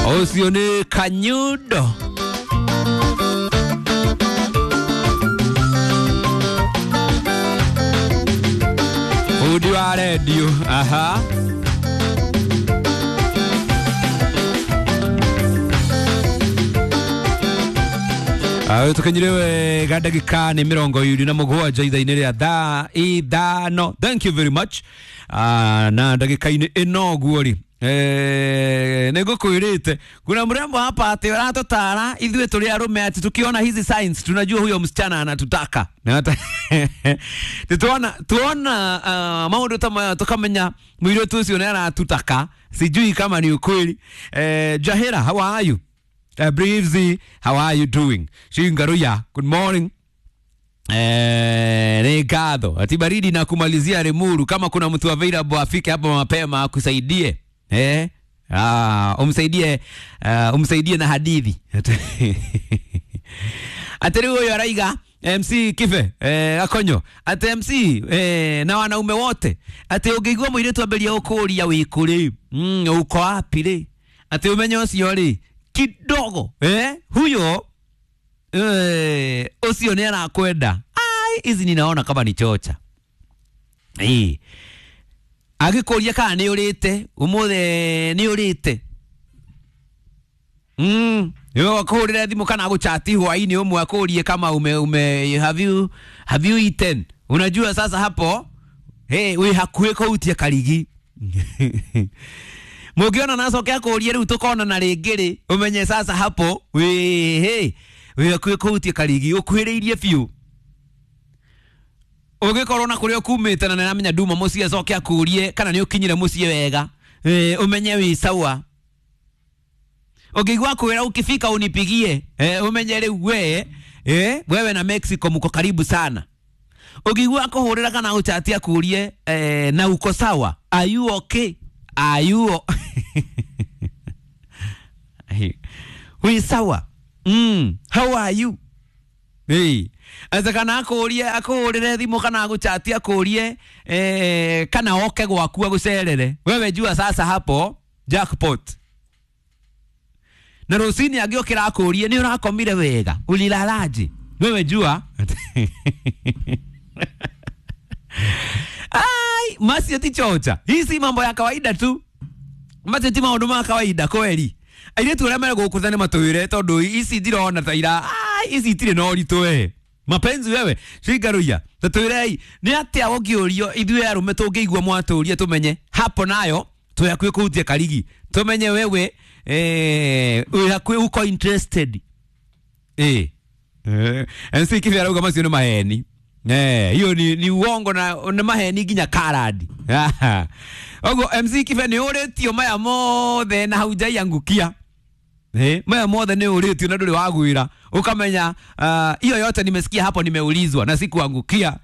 Ũcio nĩ Kanyundo. Bundi wa redio. Aha. Tukinyire wega ndagika nĩ 27 ithaa-inĩ rĩa thaa 5. Thank you very much. Na ndagika-inĩ ĩno ũguo rĩ, nĩngũkwĩrĩte kuna mrembo hapa atĩ ũratũtara ithuĩ tũrĩ arũme ati tukiona hizi signs tunajua huyo msichana anatutaka. Tuona maũndũ ta maya tukamenya mũirĩtu ũcio nĩ aratutaka. Sijui kama ni ukweli. Jahira, how are you? Breezy, how are you doing? Shingaruya, good morning. Ni ngatho ati baridi na kumalizia Limuru. Kama kuna mtu available afike hapa mapema akusaidie. Umsaidie, umsaidie na hadithi. Atiri huyo araiga MC Kibe Akonyo ati MC na wanaume wote ati ũngĩigua mũirĩtu ambĩrĩria gũkũria wĩ kũ rĩ, uko wapi rĩ, ati ũmenye ũcio rĩ kidogo huyo ũcio nĩ arakwenda. Ai, hizi ninaona kama ni chocha. Agĩkũria kana nĩ ũrĩte ũmũthĩ, nĩ ũrĩte, akũhũrĩre thimũ kana agũchati hwaĩ-inĩ ũmwe akũrie kama ume have you eaten. Unajua sasa hapo hey, wĩ hakuhĩ kũhutia karigi. Mũngĩona nacoke akũrie rĩu tũkonana rĩngĩ rĩ, ũmenye sasa hapo wĩ wĩ hakuhĩ kũhutia karigi, ũkuhĩrĩirie biũ. Ũngĩkorwo na kũrĩa ũkumĩte na nĩaramenya nduma mũciĩ acoke akũrie kana nĩ ũkinyire mũciĩ wega, ũmenye wĩ sawa. Ũngĩigua kwĩra ukifika unipigie, ũmenye rĩu we, wewe na Mexico mko karibu sana. Ũngĩigua akũhũrĩra kana gũchati akũrie, na uko sawa, are you okay, are you wĩ sawa, how are you. Asa kana akũrie akũhũrĩre thimũ kana agũchati akũrie, kana oke gwaku agũcerere, wewe jua sasa hapo jackpot. Na rũcinĩ angĩũkĩra akũrie nĩ ũrakomire wega, ulilalaje, wewe jua. Ai, macio ti chocha, hii si mambo ya kawaida tu, macio ti maũndũ ma kawaida kweli. Airĩtu arĩa marĩ gũkũ nĩ matwĩre tondũ ici ndirona ta ira, ai, ici itirĩ na ũritũ we mapenzi wewe. Shingaruya, tatwĩrei nĩ atĩa ũngĩũrio ithuĩ arũme tũngĩigua mwatũria tũmenye hapo nayo twĩ hakuhĩ kũhutia karigi, tũmenye wewe wĩ hakuhĩ uko interested. MC Kibe arauga macio nĩ maheni. Hiyo ni uongo na nĩ maheni nginya karadi. Ogo MC Kibe nĩ ũrĩtio maya mothe na haujaiangukia. Maya mothe nĩ ũrĩtio na ndũrĩ wagwĩra ukamenya hiyo yote nimesikia hapo, nimeulizwa na sikuangukia.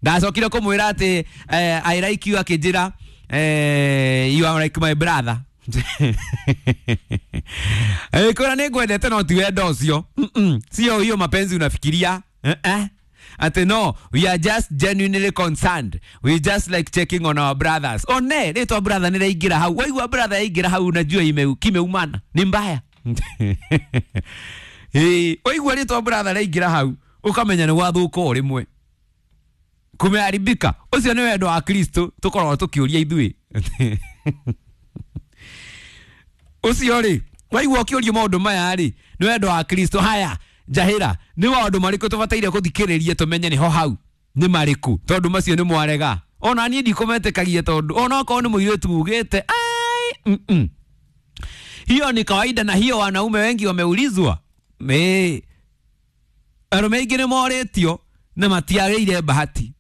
Ndacokire kũmwĩra atĩ I like you, akĩnjĩra you are like my brother. Kwĩra nĩ ngwendete no ti wendo ũcio. Sio hiyo mapenzi unafikiria. Ati no, we are just genuinely concerned, we just like checking on our brothers. One rĩtwa brother nĩ rĩaingĩra hau, waigua brother yaingĩra hau unajua kimeumana ni mbaya. Waigua rĩtwa brother rĩaingĩra hau ukamenya nĩ gwathũka o rĩmwe, kumeharibika. Ũcio nĩ wendo wa Kristo tũkoragwo tũkĩũria ithuĩ. Ũcio rĩ, waigua ũkĩũrio maũndũ maya rĩ, nĩ wendo wa Kristo. Haya Njahĩra, nĩ maũndũ marĩkũ tũbataire gũthikĩrĩria tũmenye nĩho hau nĩ marĩkũ, tondũ macio nĩ mwarega. Ona niĩ ndikũmetĩkagia tondũ ona okorwo nĩ mũirĩtu ugĩte ai, hiyo ni kawaida, na hiyo wanaume wengi wameulizwa. Arũme aingĩ nĩ morĩtio na matiagĩire bahati.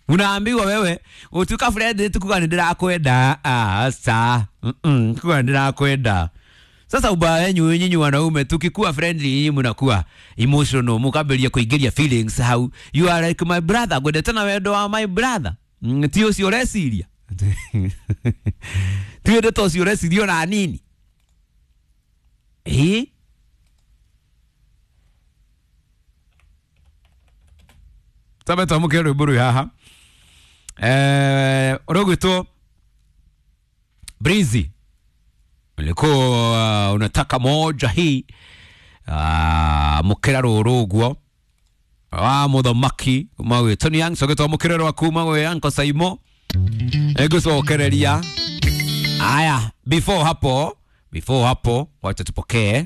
Unaambiwa wewe utuka friend tukuga nĩ ndĩrakwenda. Asa kuga nĩ ndĩrakwenda. Sasa ubaya wenyu nyinyi wanaume, tukikuwa friendly nyinyi mnakuwa emotional, mukambĩrĩria kũingĩria feelings hau. You are like my brother, ngwendete na wendo wa my brother. Ti ũcio ũreciria. Ti wendo ũcio ũreciria ona nini. Tabe twamũkĩre rwĩmbo rwĩ haha. Ũrũgwĩtwo Breezy. Nilikuwa unataka moja hii mukira ruru uguo wa muthamaki kuma gwi Tony Young cogetwo mukira rwa kuma gwi Uncle Saimo ngucokereria. Aya, before hapo wacha tupokee.